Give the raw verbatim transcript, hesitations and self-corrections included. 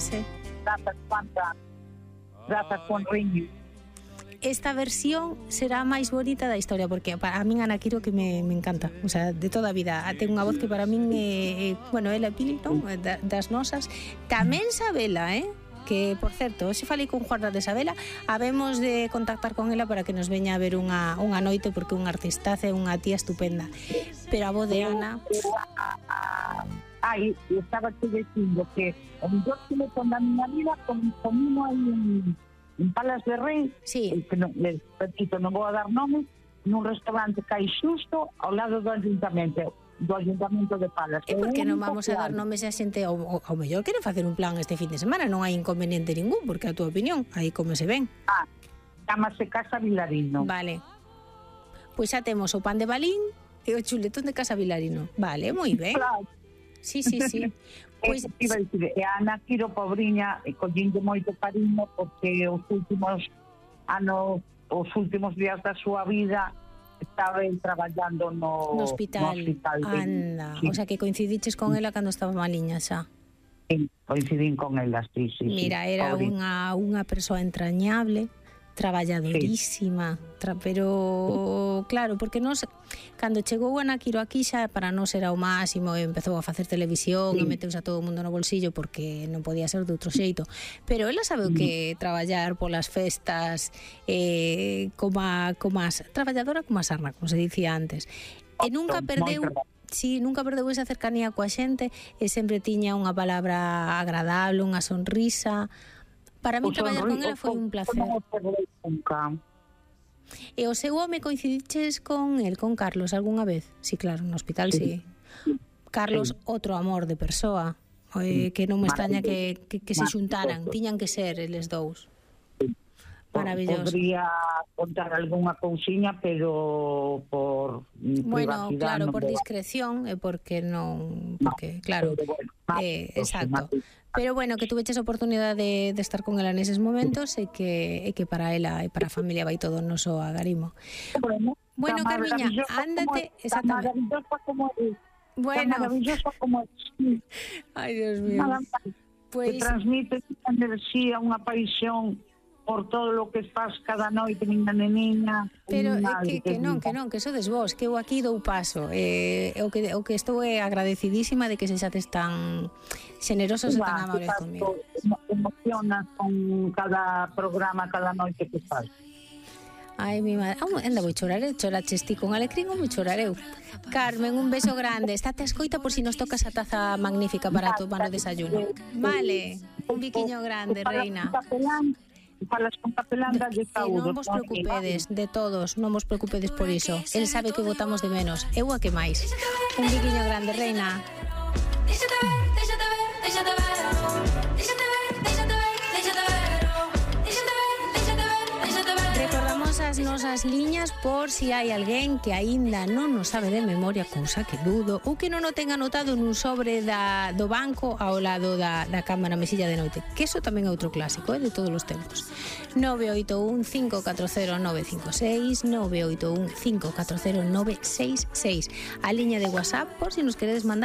frase. Grazas, Juanta. Grazas, Juan Riño. Esta versión será a máis bonita da historia, porque para min Ana Quiro que me, me encanta, o sea, de toda a vida. Ten unha voz que para min é, é bueno, ela é Pili, non? Da, das nosas. Tamén Sabela, eh? Que, por certo, hoxe falei con Juana de Sabela, habemos de contactar con ela para que nos veña a ver unha, unha noite, porque é unha artistaza, é unha tía estupenda. Pero a voz de Ana... Ai, estaba te dicindo que o mellor que me pon da miña vida comimo aí en, en Palas de Rei, sí. Que non, les repito, non vou a dar nomes, nun restaurante que hai xusto ao lado do ayuntamento, do ayuntamento de Palas. E por que non vamos a dar nomes a xente ao, ao mellor queren facer un plan este fin de semana, non hai inconveniente ningún, porque a tua opinión, aí como se ven. Ah, chámase Casa Vilarino. Vale. Pois xa temos o pan de Balín e o chuletón de Casa Vilarino. Vale, moi ben. Claro. Sí, sí, sí. Pois iba a dicir, e a Ana Quiro, pobriña, e collinde moito cariño porque os últimos anos, os últimos días da súa vida estaba el traballando no, no hospital. No hospital de, Anda, sí. O sea que coincidiches con ela cando estaba maliña xa. Sí, coincidín con ela, sí, sí. Mira, sí, era pobre. unha, unha persoa entrañable, traballadorísima, sí. tra, pero claro, porque nos cando chegou Ana Quiro aquí xa para nós era o máximo, e empezou a facer televisión, sí. E meteuse a todo o mundo no bolsillo porque non podía ser de outro xeito, pero ela sabe o que traballar polas festas, eh, como a, como a traballadora como a sarna, como se dicía antes, e nunca perdeu. Sí, nunca perdeu esa cercanía coa xente, e sempre tiña unha palabra agradable, unha sonrisa. Para mí traballar con ela foi un placer. E o seu home coincidiches con el, con Carlos, algunha vez? Sí, claro, no hospital sí. sí. Carlos, sí. Outro amor de persoa, eh, que non me extraña que, que, que se xuntaran, tiñan que ser eles dous. Maravilloso. Podría contar algunha cousiña, pero por bueno, privacidade. Claro, non por vou. discreción, e porque non, porque no, claro, bueno, eh, exacto. Pero bueno, que tuveches a oportunidade de, de estar con ela neses momentos, e que e que para ela e para a familia vai todo o noso agarimo. Bueno, bueno Carmiña, ándate, como, exactamente. Tan maravillosa como es. Bueno. Tan maravillosa como es. Ai, Dios mío. Pues... Que transmite unha enerxía, unha paixón por todo o que faz cada noite, miña neniña. Pero é que, que non, que non, que sodes vos, que eu aquí dou paso. Eh, o, que, o que estou é agradecidísima de que se xates tan generosos e tan amables comigo. Emocionas con cada programa, cada noite que faz. Ai, mi madre, oh, anda, vou chorar, eu choraches ti con alecrín ou vou chorar eu. Carmen, un beso grande. Estate a escoita por si nos toca esa taza magnífica para tomar o desayuno. Vale, un biquiño grande, reina. Falas con capelán da de saúde. Non vos preocupedes, de todos, non vos preocupedes por iso. El sabe que votamos de menos, eu a que máis. Un biquiño grande, reina. Déxate ver, déxate ver, déxate ver. Déxate ver, déxate ver, déxate ver. Déxate ver, déxate ver, déxate ver. Recordamos as nosas liñas por si hai alguén que aínda non nos sabe de memoria, cousa que dudo, ou que non o ten anotado nun sobre da, do banco ao lado da, da cama na mesilla de noite, que eso tamén é outro clásico, eh, de todos os tempos. nove oito un cinco catro cero nove cinco seis, nove oito un cinco catro cero nove seis seis, a liña de WhatsApp por si nos queredes mandar